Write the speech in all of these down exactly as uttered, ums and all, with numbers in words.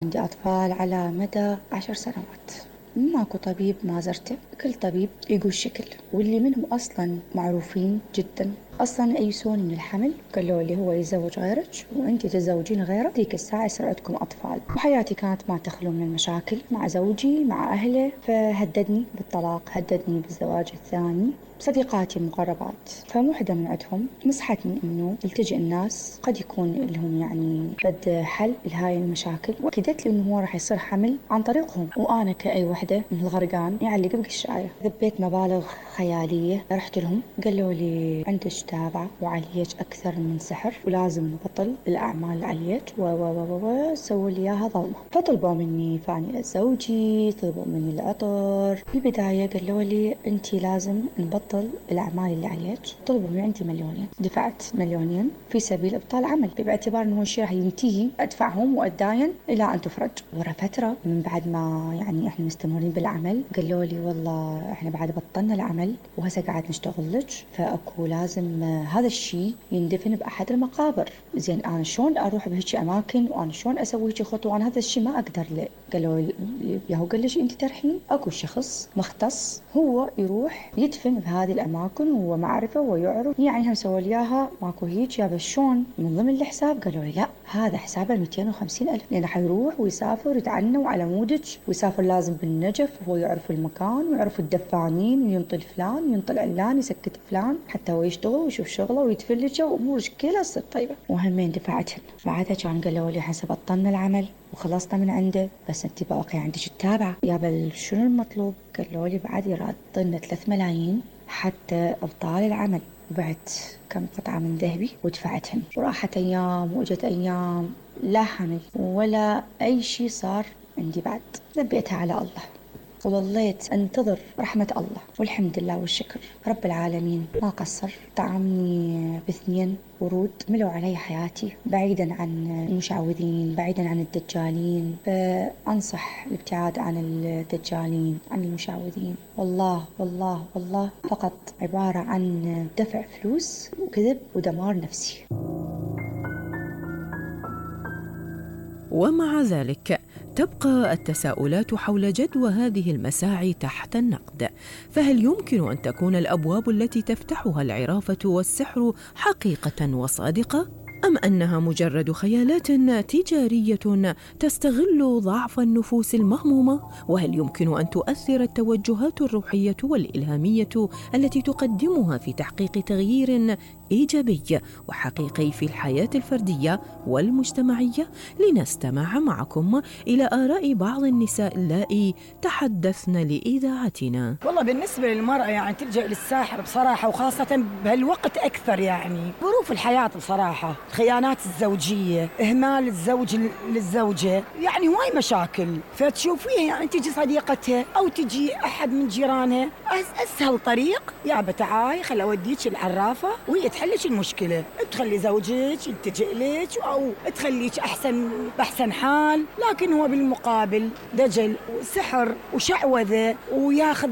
عندي أطفال على مدى عشر سنوات، ماكو طبيب ما زرته، كل طبيب يقول شكل، واللي منهم أصلا معروفين جدا أصلا يئسون من الحمل، قالوا لي هو يتزوج غيرك وأنت تتزوجين غيره ذيك الساعة يصير عندكم أطفال. وحياتي كانت ما تخلو من المشاكل مع زوجي مع أهله، فهددني بالطلاق، هددني بالزواج الثاني. صديقاتي المقربات فمو حدا من عندهم نصحتني إنه التجئ الناس قد يكون لهم يعني بد حل لهاي المشاكل، وأكدت لي إنه هو راح يصير حمل عن طريقهم. وأنا كأي وحدة من الغرقان يعلق بقشاية ذبيت مبالغ خيالية. رحت لهم قالوا لي عندك تابعة وعليك أكثر من سحر ولازم نبطل الأعمال اللي عليك و و و و سووا لي إياها ظلمة. فطلبوا مني فاني زوجي، طلبوا مني العطر. بالبداية قالوا لي أنت لازم نبطل الأعمال اللي عليك. طلبوا مني عندي مليونين، دفعت مليونين في سبيل إبطال عمل، باعتبار إنه الشيء راح ينتهي أدفعهم وأتداين إلى أن تفرج. ورا فترة من بعد ما يعني إحنا مستمرين بالعمل قالوا لي والله إحنا بعد بطلنا العمل وهسه قاعد نشتغل لك، فأكو لازم هذا الشيء يندفن بأحد المقابر. زين أنا شلون أروح بهيك أماكن وأنا شلون أسوي هيك خطوة وأنا هذا الشيء ما أقدر له. قالوا لي ياهو قال ليش أنت ترحين، أكو شخص مختص هو يروح يدفن بهذه الأماكن وهو معرفة ويعرف. يعني هم سووا لي إياها ماكو هيك. يا بس شلون من ضمن الحساب؟ قالوا لي لا هذا حسابه مئتين وخمسين ألف، لأنه حيروح ويسافر يتعنى وعلى مودك ويسافر لازم بالنجف وهو يعرف المكان ويعرف الدفانين وينطل فلان وينطل علان يسكت فلان حتى هو يشتغل ويشوف شغله ويتفلج وأمورك كلها تصير طيبة. وهمين دفعتهن. بعدها كان قالوا لي حسب بطلنا العمل وخلصنا من عنده، بس انت باقي عندك التابعة. يا بل شنو المطلوب؟ قالوا لي بعد يرادنا ثلاث ملايين حتى ابطال العمل. بعت كم قطعة من ذهبي ودفعتهن، وراحت أيام وأجت أيام لا حمل ولا أي شيء صار عندي. بعد ذبيتها على الله وظليت أنتظر رحمة الله، والحمد لله والشكر رب العالمين ما قصر. طعمني باثنين ورود ملوا علي حياتي، بعيدا عن المشعوذين، بعيدا عن الدجالين. فأنصح الابتعاد عن الدجالين، عن المشعوذين. والله والله والله فقط عبارة عن دفع فلوس وكذب ودمار نفسي. ومع ذلك تبقى التساؤلات حول جدوى هذه المساعي تحت النقد. فهل يمكن أن تكون الأبواب التي تفتحها العرافة والسحر حقيقة وصادقة؟ أم أنها مجرد خيالات تجارية تستغل ضعف النفوس المهمومة؟ وهل يمكن أن تؤثر التوجهات الروحية والإلهامية التي تقدمها في تحقيق تغيير إيجابي وحقيقي في الحياة الفردية والمجتمعية؟ لنستمع معكم إلى آراء بعض النساء اللائي تحدثن لإذاعتنا. والله بالنسبة للمرأة يعني تلجأ للساحر بصراحة، وخاصة بهالوقت أكثر. يعني ظروف الحياة بصراحة، الخيانات الزوجية، إهمال الزوج للزوجة، يعني هواي مشاكل. فتشوفيها يعني تجي صديقتها أو تجي أحد من جيرانها، أسهل طريق يا بتعاي خل أوديك العرافة وهي تحلش المشكلة، تخلي زوجك يلتجئ لك أو تخليك أحسن بأحسن حال. لكن هو بالمقابل دجل وسحر وشعوذة وياخذ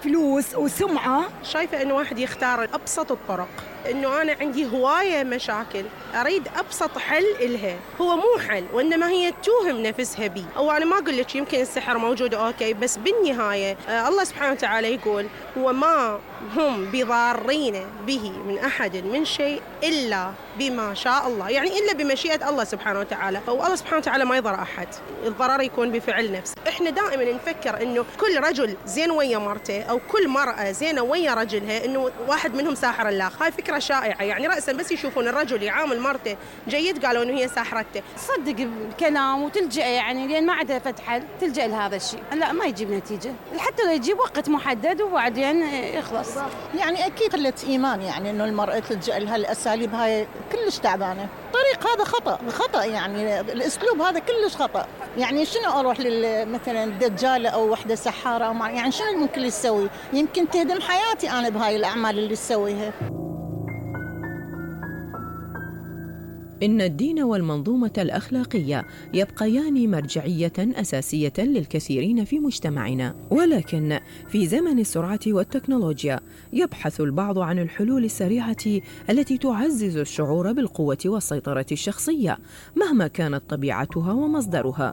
فلوس وسمعة. شايفة إنه واحد يختار أبسط الطرق، إنه أنا عندي هواية مشاكل أريد أبسط حل إلها، هو مو حل وإنما هي توهم نفسها بي. أو أنا ما أقول لك يمكن السحر موجود أوكي، بس بالنهاية آه الله سبحانه وتعالى يقول هو ما هم بضارين به من أحد من شيء إلا بما شاء الله، يعني إلا بمشيئة الله سبحانه وتعالى. فالله سبحانه وتعالى ما يضر أحد، الضرر يكون بفعل نفسه. إحنا دائما نفكر إنه كل رجل زين ويا مرته أو كل مرأة زينة ويا رجلها، إنه واحد منهم ساحر الآخر. هاي فكرة شائعة، يعني رأسا بس يشوفون الرجل يعامل مرته جيد قالوا إنه هي ساحرته. تصدق الكلام وتلجأ يعني لين ما عندها فتح تلجأ لهذا الشيء، لا ما يجيب نتيجة، حتى لو يجيب وقت محدد وبعدين يخلص. يعني أكيد قلة إيمان، يعني إنه المرأة تلجأ لها الأساليب هاي كلش تعبانة. الطريق هذا خطأ خطأ، يعني الأسلوب هذا كلش خطأ. يعني شنو أروح مثلا دجالة أو وحدة سحارة أو يعني شنو ممكن تسوي؟ يمكن تهدم حياتي أنا بهاي الأعمال اللي تسويها. إن الدين والمنظومة الأخلاقية يبقيان مرجعية أساسية للكثيرين في مجتمعنا، ولكن في زمن السرعة والتكنولوجيا يبحث البعض عن الحلول السريعة التي تعزز الشعور بالقوة والسيطرة الشخصية مهما كانت طبيعتها ومصدرها،